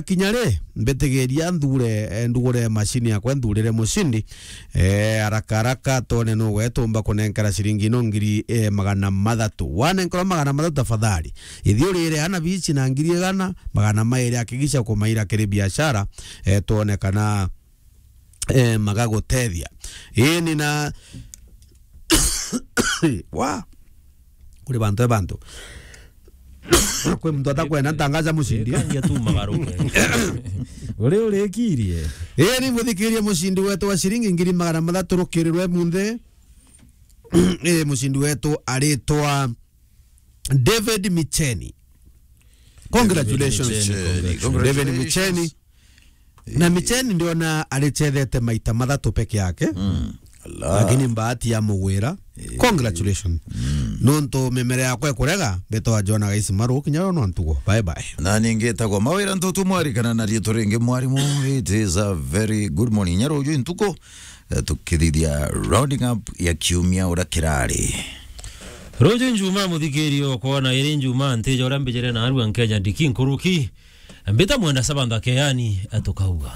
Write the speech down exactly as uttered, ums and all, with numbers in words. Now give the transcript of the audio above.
kinya ri, mbitigiria nthure, eh, ndugure mashini yakwa, nthurire mushindi. Eh, haraka haraka, twone nugwe tumba kunenkera ciringi ino ngiri, eh, magana mathatu. Wanenkerwa magana mathatu, tafadhali. Ithi urire ana bici na ngiri igana, magana mairi, hakikisha kumaira kiri biashara, eh, twone kana, eh, magagutethia. Ii, ni na wa. Kuri bantu e bantu. Kwi muntu atakwenda ntangaza mushindi. Kangia tu magaruke. Uri urikirie. Ii, ni muthikirie mushindi wetu wa ciringi ngiri magana mathatu rukirirwe munthi. Ii, mushindi wetu aritwa David Micheni. Congratulations. Micheni, congratulations. David Micheni. Na Micheni ndiona aricethete maita mathatu peke yake. Mm. Ala. Lakini mbahati ya mugwira. Eh. Congratulations. Mm. Nontu mimera yakwa ikurega, mbetwa Jona Gaisi Maru, kinya no ntugo. Bye bye. Na ningi etagwa Mawira Ntutu, mwarikana na riitwa ringi mwarimu. It is a very good morning. Nyaro uju ntuko, eh, tukithithia rounding up ya kiumia uria kirari. Ruju Njuma, muthikirio, kwona iri Njuma, ntija uria mbijire na arua Nkenya ndiki nkuruki. Mbita mwenda saba nthake yani, tukauga.